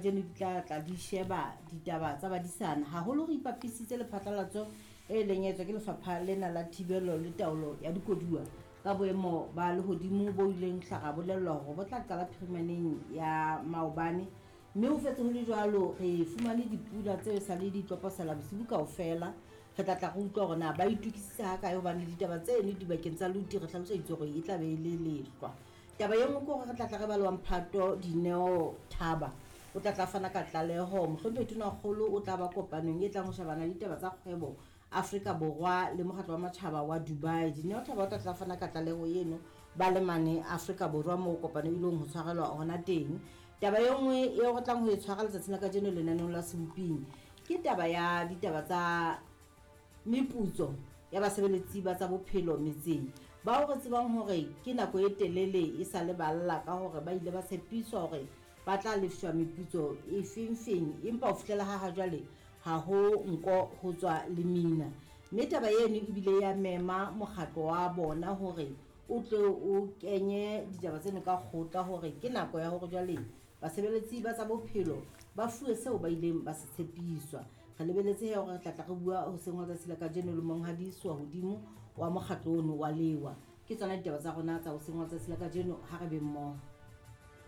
Kajeno di tla tla di sheba ditaba tsa badisana haholo re ipapisitse le phatlalatso e leng etswa ke lefapha lena la thibelo le taolo ya dikoduwa ka boemo ba lehodimo bo ileng hla ra bolellwa hore bo tla qala phirimaneng ya maobane mme ho fetse ho le jwalo re fumane dipula tseo sa le di tloposela bosibu kaofela. Re tla tla re utlwa hore na ba itokisitse hakae hobane ditaba tseno dibakeng tsa luti re hlaloseditswe hore e tla be e le lehlwa. Taba e nngwe ke hore re tla tla re ba le wa mphato Dineo Thaba o tla tla fana ka tlaleho. Mohlomphehi Tonakgolo o tla ba kopanong e tlang ho shebana le ditaba tsa kgwebo Afrika Borwa le mokgatlo wa matjhaba wa Dubai. Dineo Thaba o tla tla fana ka tlaleho eno ba le mane Afrika Borwa moo kopano e ilong ho tshwarelwa hona teng. Taba e nngwe eo re tlang ho e tshwara letsatsing la kajeno lenaneong la Seboping ke taba ya ditaba tsa meputso ya basebeletsi ba tsa bophelo metseng bao re tsebang hore ke nako e telele e sa le ba lla ka hore ba ile ba tshepiswa hore ba tla lefshwa meputso e fengfeng empa ho fihlela ha hajwale ha ho nko ho tswa lemina. Mme taba eno ebile ya mema mokgatlo wa bona hore o tle o kenye ditaba tseno ka kgotla hore ke nako ya hore jwale basebeletsi ba tsa bophelo ba fuwe seo ba ileng ba se tshepiswa. Re lebeletse he hore re tla tla re bua hoseng hwa tsatsi la kajeno le monghadi Soahodimo wa mokgatlo ono wa Lewa. Ke tsona ditaba tsa rona tsa hoseng hwa tsatsi la kajeno, ha re be mmoho.